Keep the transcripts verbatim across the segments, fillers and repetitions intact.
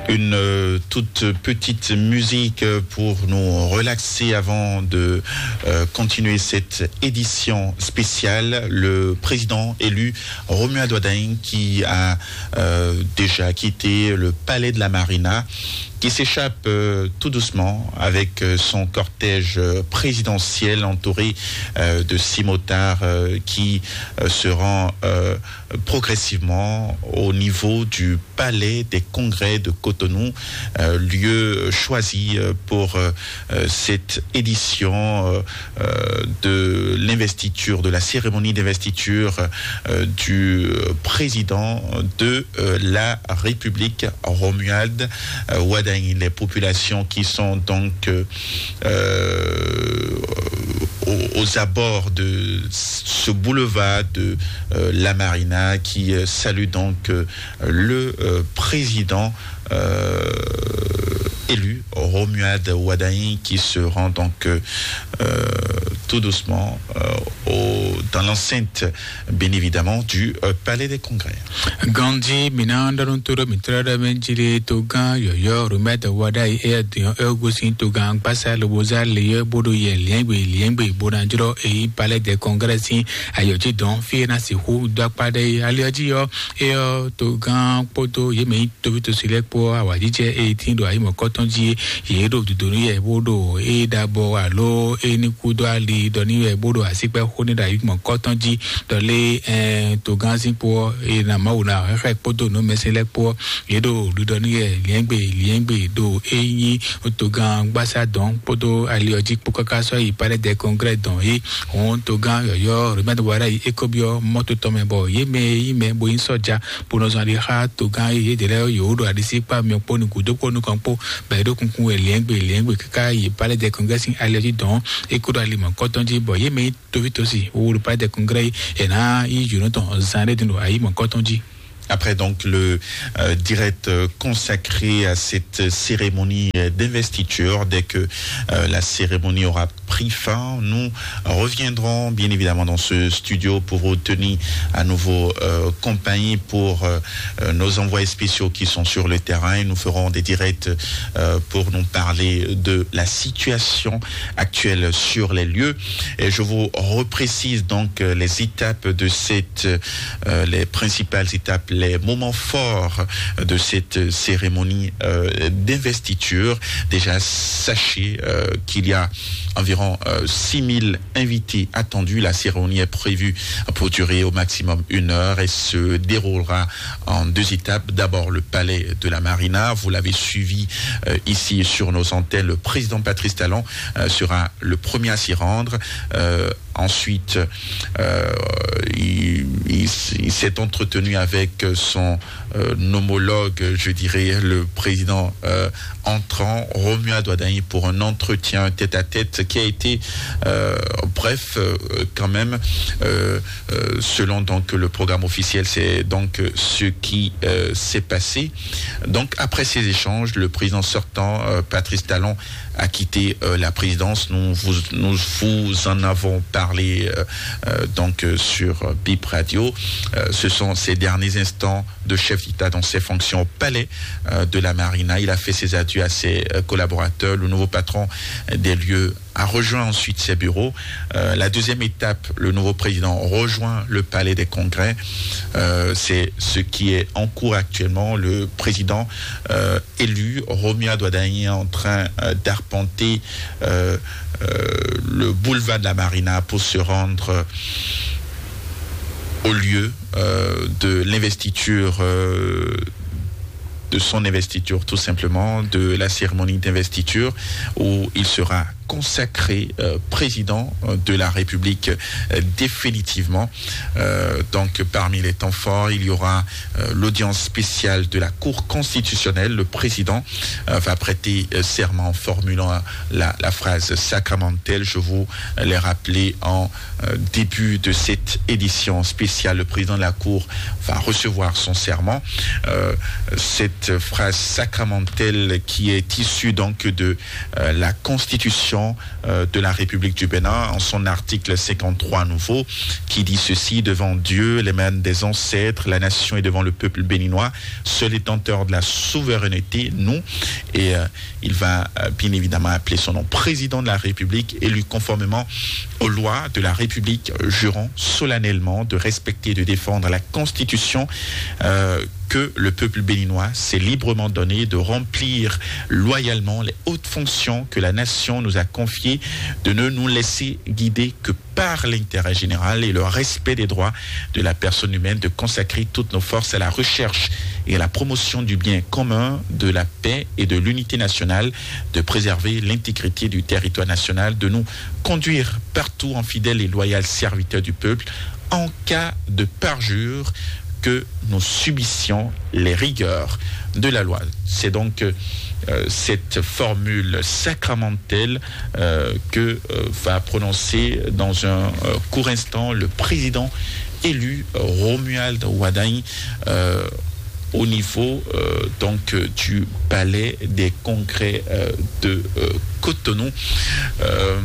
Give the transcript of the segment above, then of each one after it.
Une euh, toute petite musique pour nous relaxer avant de euh, continuer cette édition spéciale. Le président élu Romuald Wadagni qui a euh, déjà quitté le palais de la Marina, qui s'échappe euh, tout doucement avec euh, son cortège euh, présidentiel entouré euh, de six motards euh, qui euh, se rend euh, progressivement au niveau du palais des congrès de Cotonou, euh, lieu choisi euh, pour euh, euh, cette édition euh, euh, de l'investiture, de la cérémonie d'investiture euh, du euh, président de euh, la République, Romuald euh, Wadagni. Les populations qui sont donc euh, euh, aux, aux abords de ce boulevard de euh, la Marina qui euh, salue donc euh, le euh, président euh, élu, Romuald Wadagni, qui se rend donc euh, euh, tout doucement euh, au- dans l'enceinte, bien évidemment, du euh, Palais des Congrès. Gandhi mina ɖɔnu to ɖo mitɔn ɖe mɛ jili to gã yɔyɔ Romuald Wadagni eya diɔ egosin to gã gbasa loboza leyɔ bodo yɛ liɛngbe liɛngbe bona jrɔ eyi palais de congrès sin ayɔji dɔn fi na si hu do akpa ɖe aliɔji yɔ eyɔ to gã kpodo yemɛ tovi to si lɛ kpo awajijɛ eyi tin ɖo ayi mɔkɔtɔn ji ye ɖo dodonu yɛ bo ɖo eyi ɖabɔ alo eyi ni kudo ali ɖɔ ni yɛ bo ɖo asikpɛ xo ni ɖo ayi mɔkɔtɔn ji ɖɔ lé ɛɛ togán sín kpó ɔ́ eye na Mawu na xɛxɛ kpódó nǔmɛsɛn lɛ́ɛ kpó ɔ́ yě ɖo ɖiɖɔ n'i wɛ liɛ́ngbè liɛ́ngbè ɖo é nyí togán gbásá dɔn kpódó ali ɔ́ jí kpó káká sɔ́ yi palais des congrès dɔn é hɔn togán yɔ̌yɔ́ Romuald Wadagni é kó byɔ́ mɔ́to tɔn mɛ bɔ yě mɛ e nyí mɛ bo nyí sɔ́ja bó nɔ zɔn ali xá togán e yědɛɛ lɛ́ɛ yǒ ɖo aɖisí kpá myɔ kpó nukún dó kpó nukɔn kpó bɔ yě ɖo kunkun wɛ liɛ́ngbè liɛ́ngbè káká yi palais des congrès sín ali ɔ́ jí dɔn é kó ɖo ali mɔ̌kɔtɔn jí bɔ yě mɛ nyí tovítɔ́sì wowolo palais des congrès yi è nǎ yí jǒnɔ tɔn zan ɖé din ɖo ayi mɔ̌kɔtɔn jí. Après donc le euh, direct euh, consacré à cette cérémonie euh, d'investiture, dès que euh, la cérémonie aura pris fin, nous reviendrons bien évidemment dans ce studio pour vous tenir à nouveau euh, compagnie pour euh, euh, nos envoyés spéciaux qui sont sur le terrain. Et nous ferons des directs euh, pour nous parler de la situation actuelle sur les lieux. Et je vous reprécise donc euh, les étapes de cette, euh, les principales étapes, les moments forts de cette cérémonie euh, d'investiture. Déjà, sachez euh, qu'il y a environ euh, six mille invités attendus. La cérémonie est prévue pour durer au maximum une heure et se déroulera en deux étapes. D'abord, le palais de la Marina. Vous l'avez suivi euh, ici sur nos antennes. Le président Patrice Talon euh, sera le premier à s'y rendre. Euh, ensuite, euh, il, il s- il s'est entretenu avec son euh, homologue, je dirais, le président euh, entrant, Romuald Wadagni, pour un entretien tête-à-tête qui a été euh, bref euh, quand même. Euh, euh, selon donc le programme officiel, c'est donc euh, ce qui euh, s'est passé. Donc après ces échanges, le président sortant, euh, Patrice Talon, a quitté euh, la présidence. Nous vous, nous vous en avons parlé euh, euh, donc euh, sur euh, Bip Radio. Euh, ce sont ces derniers instants de chef d'État dans ses fonctions au palais euh, de la Marina. Il a fait ses adieux à ses euh, collaborateurs. Le nouveau patron des lieux a rejoint ensuite ses bureaux. Euh, la deuxième étape, le nouveau président rejoint le palais des congrès. Euh, c'est ce qui est en cours actuellement. Le président euh, élu, Romuald Wadagni, est en train euh, d'arpenter euh, euh, le boulevard de la Marina pour se rendre au lieu euh, de l'investiture, euh, de son investiture tout simplement, de la cérémonie d'investiture où il sera consacré euh, président euh, de la République euh, définitivement. Euh, donc parmi les temps forts, il y aura euh, l'audience spéciale de la Cour constitutionnelle. Le président euh, va prêter euh, serment en formulant la, la phrase sacramentelle. Je vous l'ai rappelé en euh, début de cette édition spéciale. Le président de la Cour va recevoir son serment. Euh, cette phrase sacramentelle qui est issue donc de euh, la Constitution euh, de la République du Bénin en son article cinquante-trois nouveau, qui dit ceci: devant Dieu, les manes des ancêtres, la nation et devant le peuple béninois, seul détenteur de la souveraineté, nous. Et euh, il va euh, bien évidemment appeler son nom président de la République, élu conformément aux lois de la République, jurant solennellement de respecter et de défendre la Constitution euh, que le peuple béninois s'est librement donné, de remplir loyalement les hautes fonctions que la nation nous a confiées, de ne nous laisser guider que par l'intérêt général et le respect des droits de la personne humaine, de consacrer toutes nos forces à la recherche et à la promotion du bien commun, de la paix et de l'unité nationale, de préserver l'intégrité du territoire national, de nous conduire partout en fidèles et loyaux serviteurs du peuple, en cas de parjure, que nous subissions les rigueurs de la loi. C'est donc euh, cette formule sacramentelle euh, que euh, va prononcer dans un euh, court instant le président élu euh, Romuald Wadagni euh, au niveau euh, donc euh, du palais des congrès euh, de euh, Cotonou. Euh,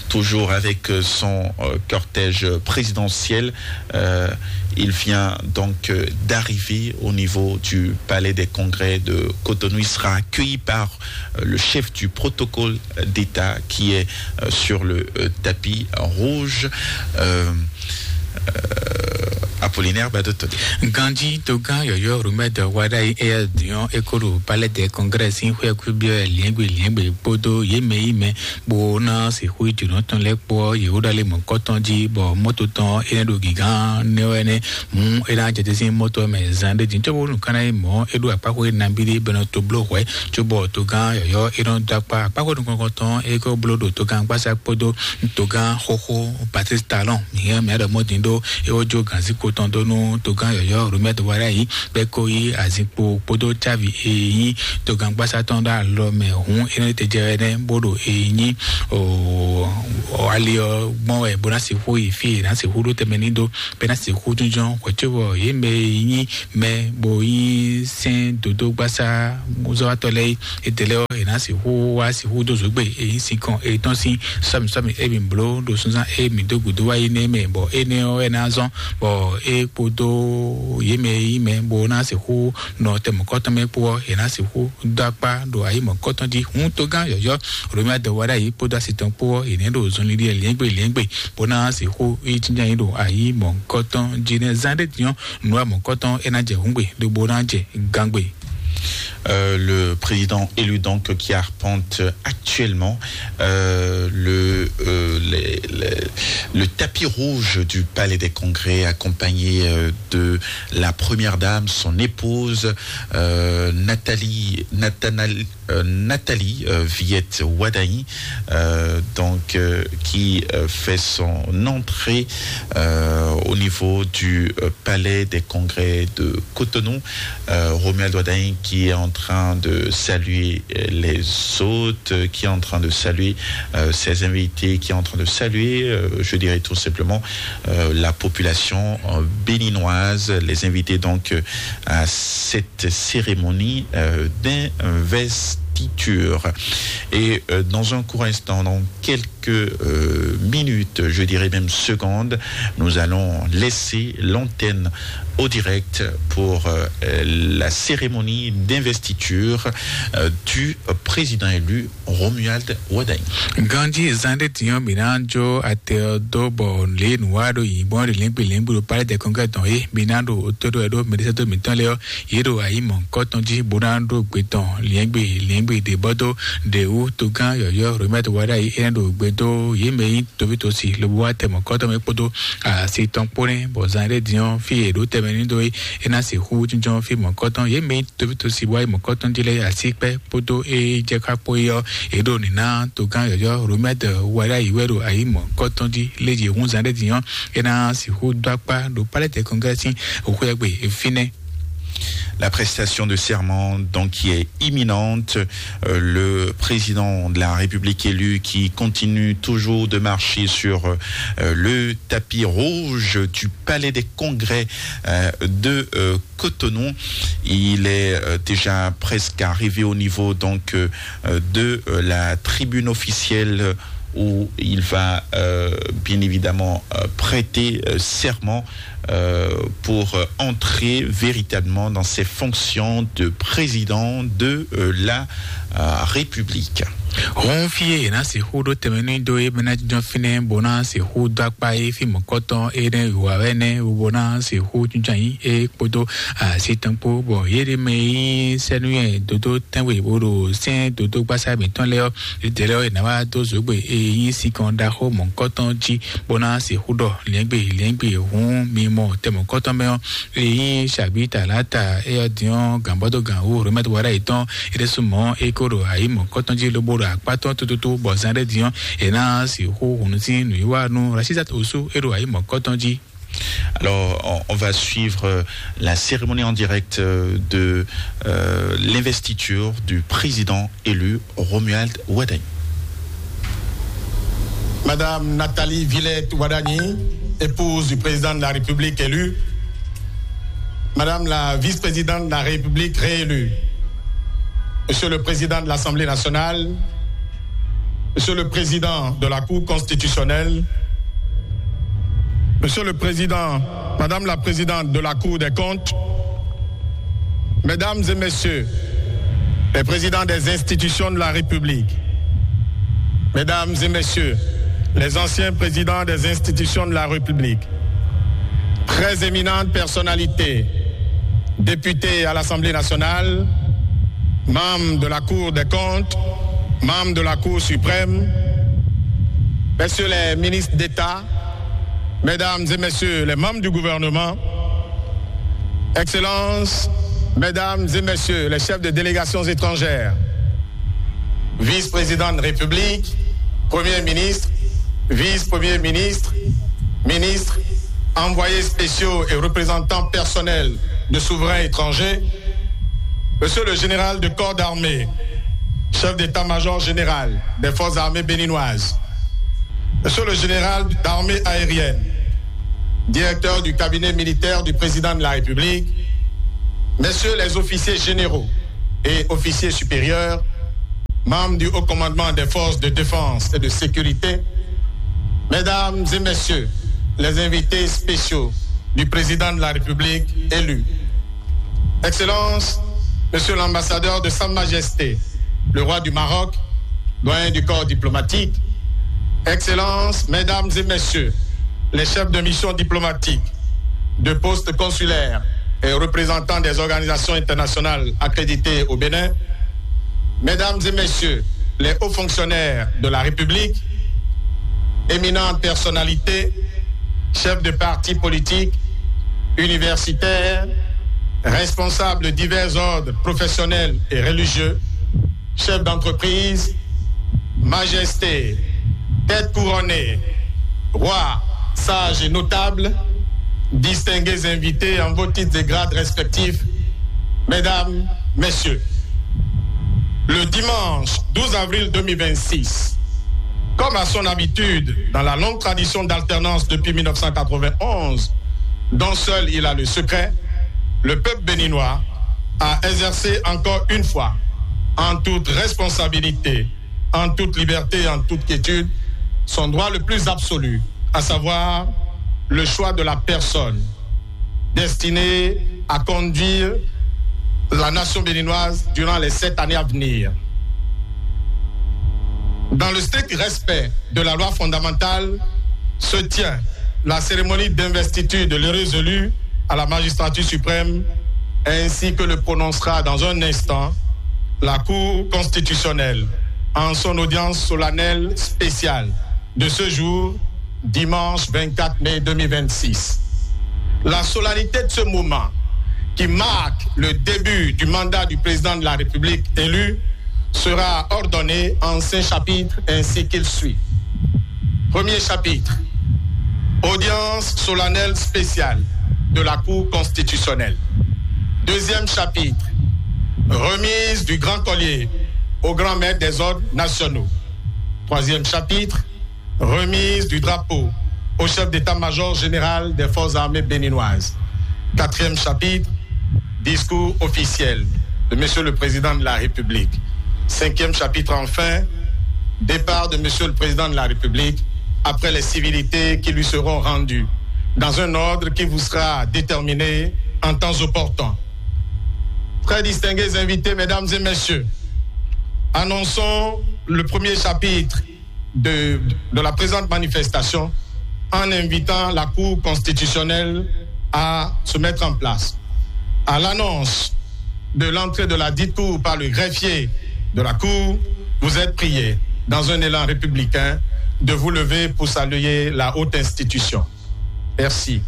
toujours avec euh, son euh, cortège présidentiel. Euh, il vient donc euh, d'arriver au niveau du palais des congrès de Cotonou. Il sera accueilli par euh, le chef du protocole d'État qui est euh, sur le euh, tapis rouge. Euh, euh, Apollinaire Badotone. Ganji Togan Yoyo Rumed Wadai Air Dion Ekoro Palais des Congrès in Huekubier Liengbe Liengbe Bodo Yeme Ime Bona Sehui Junotun Lekpo Yehuda Lemon Kotonji Bo Mototon Enedo Gigan Newene Mu Ena Jetesin Moto Me Zande Jin Chobo Nukana Mo Edu Akpako Nabidi Beno Toblo Hue Chobo Togan Yoyo Enon Dakpa Akpako Nukoton Eko Blodo Togan Basa Podo Togan Hoho Patrice Talon Mia Mia Mɔdindo Ewo Jo Ganzi Koton Donu Togan Yoyo Rumet Warai Beko Yi Azikpo Podo Chavi Eyi Togan Basa Tonda Lome Hun Ene Tejere Bodo Eyi O o ali ɔ gbɔn wɛ bó ná sixú yi fí yě ná sixú ɖó tɛmɛ ní dó bɛ ná sixú jínjɔ́n hwɛ̌cóbɔ yě mɛ e nyí mɛ bó nyí sɛ́n dodó gbásá zɔ́wátɔ́ lɛ́ɛ é. Étɛlɛ ɔ́, yě ná sixú wá sixú dó zǒgbe e nyí sinkɔn e tɔn sín sɔ́mi sɔ́mi e mǐ bló ɖo sunzán e mǐ dó gǔdo wá yi nɛ́ mɛ bɔ énɛ́ ɔ́ wɛ ná zɔ́n bɔ é kpódó yě mɛ e nyí mɛ bó ná sixú nɔ tɛmɔkɔ́tɔn mɛ kpó ɔ́, yě ná sixú dó akpá ɖo ayǐ mɔ̌kɔ́tɔn jí. Hǔn togán yɔ̌yɔ́ Romia dɔwɛɖá yě kpódó asi tɔn kpó ɔ́, yě nɛ́ ɖo zɔnlin ɖi lɛ̌ngbé lɛ̌ngbé bó ná sixú yi jínjɔ́n yín ɖo ayǐ mɔ̌kɔ́tɔn jí nɛ́. Zán ɖé din ɔ́, nǔ wa mɔ̌kɔ́tɔn é ná jɛ hǔngbe ɖó bó ná jɛ gángbe. Euh, le président élu donc qui arpente actuellement euh, le, euh, les- les- le tapis rouge du Palais des Congrès, accompagné euh, de la première dame, son épouse euh, Nathalie, Nathanal- euh, Nathalie euh, Viette Wadaï, euh, donc euh, qui euh, fait son entrée euh, au niveau du euh, Palais des Congrès de Cotonou. Euh, Romuald Wadaï qui est en train de saluer euh, les hôtes, euh, qui est en train de saluer euh, ses invités, qui est en train de saluer, euh, je dirais tout simplement, euh, la population euh, béninoise, les invités donc euh, à cette cérémonie euh, d'investiture. Et euh, dans un court instant, dans quelques euh, minutes, je dirais même secondes, nous allons laisser l'antenne au direct pour euh, la cérémonie d'investiture euh, du président élu Romuald Wadaï. Ganji zande tiɲɔ mina jo ate do bɔ le nuwa do yibɔ de lengbe lengbe do pale de kɔnkɛ tɔn ye mina do to do do mede do mitɔn le yɔ ye do ayi mɔ kɔtɔn ji bona do gbe tɔn lengbe lengbe de bɔ do de wu togan yɔyɔ Romuald Wadaï ene do gbe do ye mɛ yi tobi tosi lobo wa tɛ mɔ kɔtɔn mɛ kpodo asi tɔn kpone bɔ zande diɲɔ fi ye do tɛmɛ ni do ye ena se hu jɔnjɔn fi mɔ kɔtɔn ye mɛ yi tobi tosi wa yi mɔ kɔtɔn ji le asi kpɛ kpódó ée jɛ xá kpó é ɔ́, é ɖo nǐ ná togán yɔ̌yɔ́ Romɛ́d Wɛɖáyi wɛ ɖo ayǐ mɔ̌kɔtɔn jí. Léje húnzán ɖé din ɔ́, é ná sixú dó akpá ɖo Palɛ́tɛ Kɔnglɛ́ sín xwé e gbe fínɛ́. La prestation de serment, donc, qui est imminente. Euh, le président de la République élu qui continue toujours de marcher sur, euh, le tapis rouge du palais des congrès, euh, de, euh, Cotonou. Il est, euh, déjà presque arrivé au niveau, donc, euh, euh, de, euh, la tribune officielle où il va, euh, bien évidemment, euh, prêter, euh, serment, euh, pour, euh, entrer véritablement dans ses fonctions de président de, euh, la, euh, République. Hɔn fí e è nǎ sixú ɖó tɛnmɛ nú dó é mɛ ná jínjɔ́n fínɛ́ bó ná sixú dó akpá é fí mɔ̌kɔtɔn énɛ́ wǐwá wɛ nɛ́ bó ná sixú jínjɔ́n ayǐ é kpódó asi tɔn kpó, bɔ yě ɖé mɛ e nyí sɛ́núyɛ dodó tɛ́nwe bó ɖo sɛ́n dodó gbásá mǐtɔn lɛ́ɛ ɔ́, yědɛɛ lɛ́ɛ ɔ́, è nǎ wá dó zǒgbe e nyí sinkɔn ɖaxó mɔ̌kɔtɔn jí bó ná sixú ɖɔ lɛ̌ngbè lɛ̌ngbè hǔn mi mɔ tɛ mɔ̌kɔtɔn mɛ ɔ́, e nyí Shabita Lata, é ɔ́ din ɔ́, gǎnbɔ́dó gǎn wú Romɛt Wara yětɔn, é ɖésú mɔ̌ é ko ɖo ayǐ mɔ̌kɔtɔn jí lobo ɖo akpá tɔn tótótó, bɔ zán ɖé din ɔ́, è nǎ sixú hǔn sín nǔwiwa nú Rasizat Osu, é ɖo ayǐ mɔ̌kɔtɔn jí. Alors, on, on va suivre, euh, la cérémonie en direct, euh, de, euh, l'investiture du président élu Romuald Wadagni. Madame Nathalie Villette Wadagni, épouse du président de la République élu, Madame la vice-présidente de la République réélue, Monsieur le Président de l'Assemblée nationale, Monsieur le Président de la Cour constitutionnelle, Monsieur le Président, Madame la Présidente de la Cour des comptes, Mesdames et Messieurs les Présidents des institutions de la République, Mesdames et Messieurs les anciens Présidents des institutions de la République, très éminentes personnalités, députés à l'Assemblée nationale, membres de la Cour des comptes, membres de la Cour suprême, Messieurs les ministres d'État, Mesdames et Messieurs les membres du gouvernement, Excellences, Mesdames et Messieurs les chefs de délégations étrangères, vice-président de République, Premier ministre, vice-premier ministre, ministres, envoyés spéciaux et représentants personnels de souverains étrangers, Monsieur le général de corps d'armée, chef d'état-major général des forces armées béninoises, Monsieur le général d'armée aérienne, directeur du cabinet militaire du président de la République, Messieurs les officiers généraux et officiers supérieurs, membres du Haut Commandement des forces de défense et de sécurité, Mesdames et Messieurs les invités spéciaux du président de la République élu, Excellence, Monsieur l'ambassadeur de Sa Majesté, le roi du Maroc, doyen du corps diplomatique, Excellences, Mesdames et Messieurs les chefs de mission diplomatique, de postes consulaires et représentants des organisations internationales accréditées au Bénin, Mesdames et Messieurs les hauts fonctionnaires de la République, éminentes personnalités, chefs de partis politiques, universitaires, responsables de divers ordres professionnels et religieux, chefs d'entreprise, majestés, têtes couronnées, rois, sages et notables, distingués invités en vos titres et grades respectifs, mesdames, messieurs. Le dimanche douze avril deux mille vingt-six, comme à son habitude dans la longue tradition d'alternance depuis mille neuf cent quatre-vingt-onze, dont seul il a le secret, le peuple béninois a exercé encore une fois, en toute responsabilité, en toute liberté et en toute quiétude, son droit le plus absolu, à savoir le choix de la personne destinée à conduire la nation béninoise durant les sept années à venir. Dans le strict respect de la loi fondamentale, se tient la cérémonie d'investiture de l'heureux élu à la magistrature suprême, ainsi que le prononcera dans un instant la Cour constitutionnelle en son audience solennelle spéciale de ce jour, dimanche vingt-quatre mai deux mille vingt-six. La solennité de ce moment, qui marque le début du mandat du président de la République élu, sera ordonnée en cinq chapitres ainsi qu'il suit. Premier chapitre, audience solennelle spéciale de la Cour constitutionnelle. Deuxième chapitre, remise du grand collier au grand maître des ordres nationaux. Troisième chapitre, remise du drapeau au chef d'état-major général des forces armées béninoises. Quatrième chapitre, discours officiel de Monsieur le Président de la République. Cinquième chapitre, enfin, départ de Monsieur le Président de la République après les civilités qui lui seront rendues, dans un ordre qui vous sera déterminé en temps opportun. Très distingués invités, mesdames et messieurs, annonçons le premier chapitre de, de la présente manifestation en invitant la Cour constitutionnelle à se mettre en place. À l'annonce de l'entrée de la dite cour par le greffier de la Cour, vous êtes prié, dans un élan républicain, de vous lever pour saluer la haute institution. Merci.